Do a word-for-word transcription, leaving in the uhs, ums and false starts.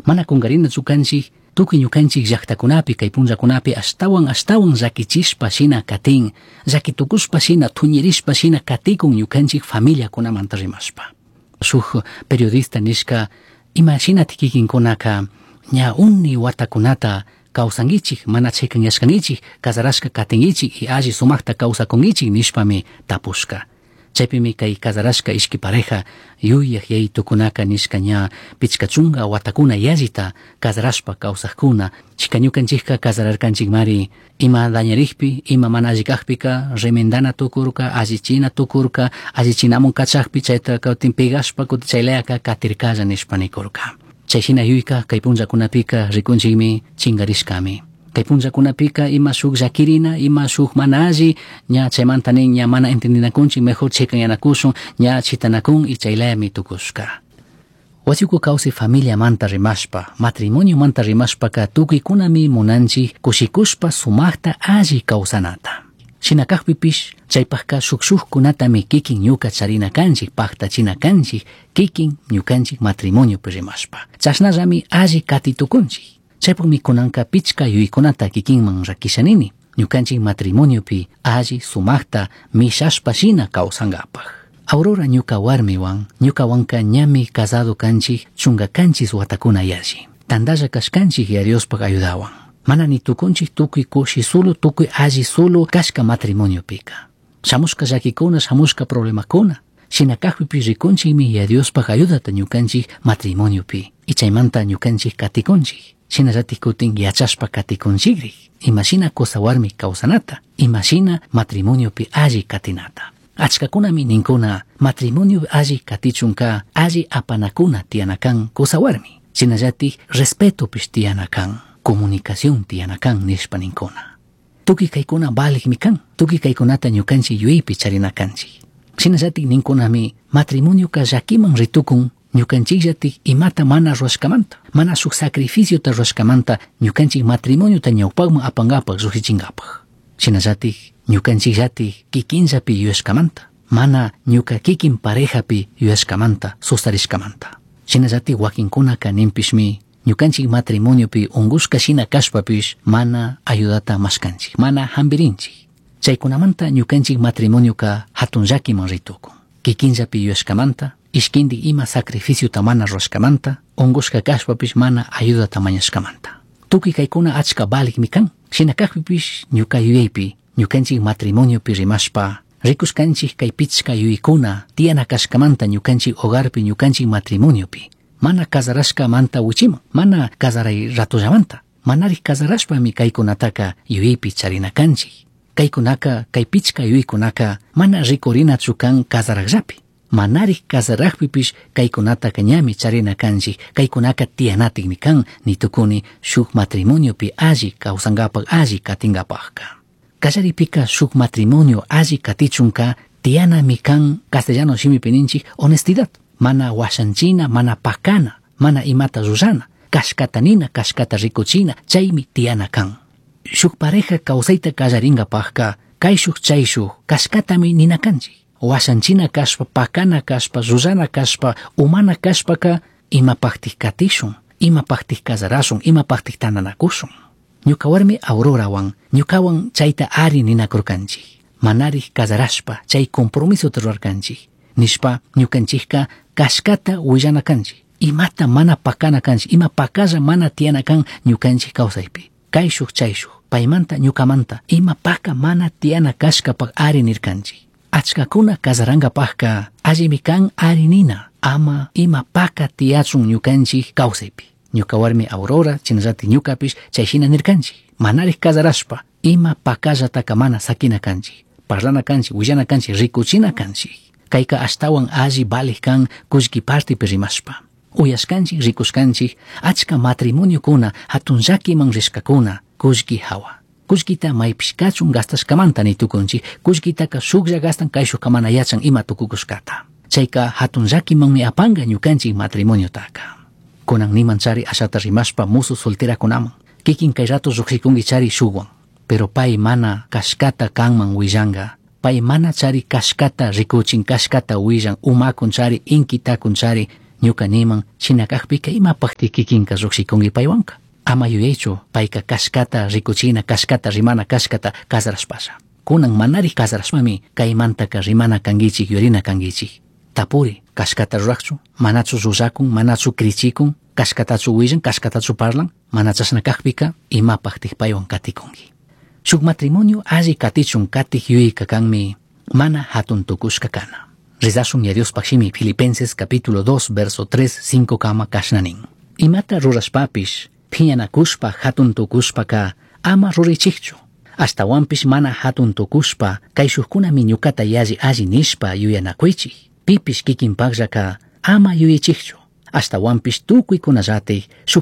Mana kungarinachu kanchik tukuy ñukanchik llaqtakunapi kay punllakunapi ashtawan ashtawan llakichishpa shina katin, llakitukushpa shina thuñirishpa shina katikun ñukanchik familiakunamanta rimashpa. Shuk periodista nishka ima shinatik kikinkunaka ña uni watakunata kawsankichik, mana chikanyashkankichik, casarashka katinkichik y alli sumakta kawsakunkichik nishpami tapushka. Chaypimi kay casarashka ishki pareja yuyaq yayitukunaka nishka ña pichka chunka watakuna yallita casarashpa kawsaqkuna, chika ñukanchikka casararkanchikmari ima dañarikpi, ima mana alli kakpika remendana tukurka, allichina tukurka, allichinamun kachakpi chayta kutin pegashpa kutin chaylayaka katirkalla nishpa nikurka. Chay shina yuyka kay punllakunapika rikunchikmi chinkarishkami. Kay punllakunapika ima shuk llakirina, ima shuk mana alli, ña chaymanta nin ña mana entendinakunchik, mejor chikanyanakushun, ña chitanakun y chaylayami tukushka. Wasiuku kawsay familiamanta rimashpa, matrimoniomanta rimashpaka tukuykunami munanchik kushikushpa sumakta alli kawsanata. Shina kakpipish chaypakka shuk shukkunatami kikin ñuka charina kanchik, paktachina kanchik, kikin ñukanchik matrimoniopi rimashpa. Chashnallami alli katitukunchik. Chaypukmi kunanka pichka yuykunata kikinman rakishanini, ñukanchik matrimoniopi alli sumakta mishashpa shina kawsankapak. Aurora ñuka warmiwan, ñukawanka ñami casado kanchik chunka kanchis watakuna yalli. Tandalla kashkanchik ya Diospak ayudawan. Mana ni tukunchik tukuy kushi sulu, tukuy alli sulu kashka matrimonio-pika. Shamushka llakikuna, shamushka problemakuna. Shina kakpipi rikunchikmi ya Diospak ayudata ñukanchik matrimoniopi. Y chaymanta ñukanchik katikunchik. Shinallatik kutin yachashpa katikunchikrik. Imashina kusa warmi kawsanata, imashina matrimoniopi alli katinata. Achkakunami ninkuna matrimonio alli katichunka alli apanakuna tiyanakan kusa warmi. Shinallatik respetopish tiyanakan, comunicación tiyanakan nishpa ninkuna. Tukuy kaykuna valikmi kan, tukuy kaykunata ñukanchik yuyaypi charinakanchik. Shinallatik ninkunami matrimonioka llakiman ritukun ñukanchikllatik imata mana ruwashkamanta, mana shuk sacrificiota ruwashkamanta ñukanchik matrimoniota ñawpakman apankapak llukshichinkapaj. Shinallatik ñukanchikllatik kikinllapi yuyashkamanta, mana ñuka kikin parejapi yuyashkamanta, sustarishkamanta. Shinallatik wakinkunaka ninpishmi ñukanchik matrimoniopi ungushka shina kashpapish mana ayudata mashkanchik, mana hampirinchik. Chaykunamanta ñukanchik matrimonioka hatun llakiman ritukun. Kikinllapi yuyashkamanta, ishkindik ima sacrificiota mana ruwashkamanta, ungushka kashpapish mana ayudata mañashkamanta. Tukuy kaykuna achka valikmi kan. Shina kakpipish ñuka yuyaypi, ñukanchik matrimoniopi rimashpa, rikushkanchik kay pichka yuyaykuna tiyana kashkamanta ñukanchik hogarpi, ñukanchik matrimoniopi. Mana casarashkamanta wichiman, mana casaray ratollamanta, manarik casarashpami kaykunataka yuyaypi charina kanchik. Kaykunaka, kay pichka yuyaykunaka mana rikurinachu kan casarakllapi. Manarik casarakpipish kaykunataka ñami charina kanchik, kaykunaka tiyanatikmi kan nitukuni shuk matrimoniopi alli kawsankapak, alli katinkapakka. Kallaripika shuk matrimonio alli katichunka tiyanami kan castellano shimipi ninchik honestidad. Mana washanchina, mana pakana, mana imata rurana, kashkata nina, kashkata rikuchina, chaymi tiyana kan. Shuk pareja kawsayta kallarinkapakka kayshuk chayshuk kashkatami nina kanchik. Washanchina kashpa, pakana kashpa, rurana kashpa, umana kashpaka imapaktik katishun, imapaktik kasarashun, imapaktik tantanakushun. Ñuka warmi Aurorawan, ñukawan chayta ari ninakurkanchik. Manarik kasarashpa chay compromisota rurarkanchik. Nishpa ñukanchikka kashkata willana kanchik. Imata mana pakana kanchik, ima pakalla mana tiyana kan ñukanchik kawsaypi. Kayshuk chayshuk, paymanta ñukamanta, ima paka mana tiyana kashkapak ari nirkanchik. Achkakuna kasarankapakka allimi kan ari nina, ama ima paka tiyachun ñukanchik kawsaypi. Ñuka warmi Aurora, chinallatik ñukapish chay shina nirkanchik. Manarik kasarashpa, ima pakallataka mana sakina kanchik. Parlana kanchik, willana kanchik, rikuchina kanchik. Kayka ashtawan alli valik kan kullki partipi rimashpa. Uyashkanchik, rikushkanchik, achka matrimoniokuna, hatun llakiman rishkakuna, kullki hawa. Kullkita maypish kachun gastashkamanta nitukunchik, kullkitaka shuklla gastan kayshukka mana yachan ima tukukushkata. Chayka hatun llakimanmi apanka ñukanchik matrimoniotaka. Kunan niman chari ashata rimashpa musu solterakunaman. Kikin kay rato llukshikunki chari shukwan. Pero pay mana kashkata kanman willanka. Pay mana chari kashkata rikuchin, kashkata willan, umakun chari, inkitakun chari, Ñuka niman shina kakpika imapakti kikinka llukshikunki paywanka. Ama yuyaychu payka kashkata rikuchina kashkata rimana kashkata kazarashpasha. Kunan manari kazarashpami kaymantaka rimana kankichik yurina kankichik. Tapuri kashkata rurakchu, manachu llullakun, manachu krichikun, kashkatachu willan, kashkatachu parlan, mana chashna kakpika imapaktik paywan katikunki. Shuk matrimonio alli katichun katik yuyayka kanmi mana hatun tukushka kana. Rezashun ya Diospaj shimi Filipenses capítulo dos verso tres cinco kama kashna nin. Imata rurashpapish phiñanakushpa hatun tukushpaka ama ruraychikchu. Ashtawanpish mana hatun tukushpa kayshukkunami ñukata yalli alli nishpa yuyanakuychik. Pipish kikinpakllaka ama yuyaychikchu. Ashtawanpish tukuykunallatik shuk